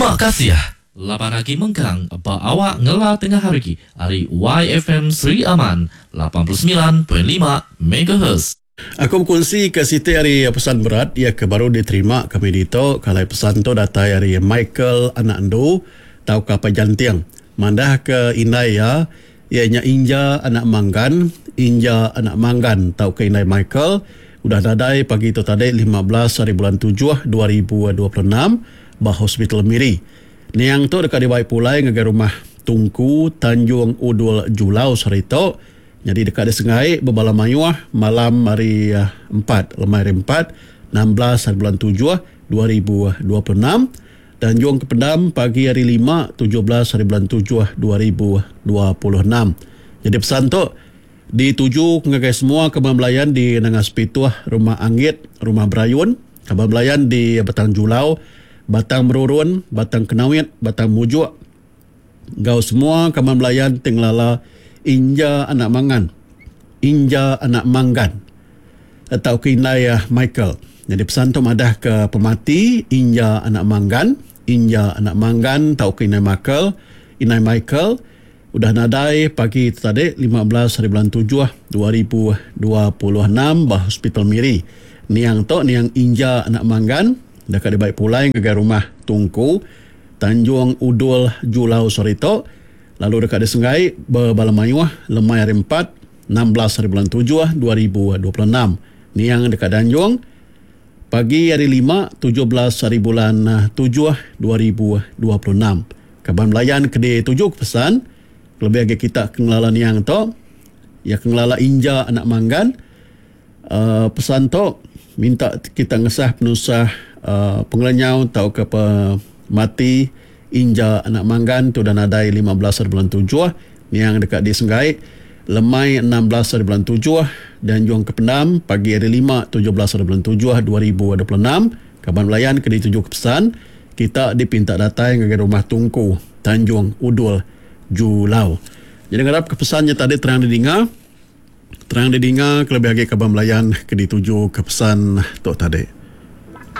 Terima kasih laban agi mengkang ba awak ngela tengah hari ari YFM Sri Aman 89.5 Megahertz. Aku bekunsi ke siti ari pesan berat iya ke baru diterima kami ditu ke alai pesan tu datai ari Michael anak Endu tauka Apai Janting madah ke indai iya iya nya Inja anak Manggan, Inja anak Manggan tauka indai Michael udah nadai pagi tu tadi 15 hari bulan tujuh 2026 ba Hospital Miri. Niang tu deka dibai pulai ngagai rumah Tungku Tanjung Udul Julau sehari tu nyadi deka disengai bebala mayuh malam hari empat lemai hari empat 16 hari bulan tujuh 2026. Tanjung ke Pendam pagi hari Lima, 17 hari bulan tujuh 2026. Nyadi pesan tu dituju ngagai semua kaban belayan di Nanga Sepituh, Rumah Anggit, Rumah Berayun, kaban belayan di Batang Julau, Batang Merurun, Batang Kenawit, Batang Mujuk enggau semua kaban belayan ti ngelala Inja anak Mangan, Inja anak Manggan tauka indai Michael. Nyadi pesan tu madah ke pemati Inja anak Manggan, Inja anak Manggan tauka indai Michael, indai Michael udah nadai pagi tu tadi 15 hari bulan tujuh 2026 ba Hospital Miri. Niang tu niang Inja anak Manggan deka dibai pulai ngagai rumah Tungku, Tanjung Udul Julau sehari tu lalu deka disenggai bebala mayuh lemai hari Empat, 16 hari bulan tujuh 2026. Niang deka dianjung pagi hari Lima, 17 hari bulan tujuh 2026. Kaban belayan ke dituju ke pesan kelebih agi kita ke ngelala niang tu iya ke ngelala Inja anak Manggan uhh pesan tu minta kita ngesah penusah uhh pengelenyau tauka pemati Inja anak Manggan ti udah nadai 15 hari bulan tujuh niang deka disenggai lemai 16 hari bulan tujuh dianjung ke pendam pagi hari lima 17 hari bulan tujuh 2026 kaban belayan ke dituju ke pesan kita dipinta datai ngagai rumah Tungku Tanjung Udul Julau. Jadi ngarap ke pesan nya tadi terang didinga. Terang didinga kelebih agi kaban belayan ke dituju ke pesan tu tadi.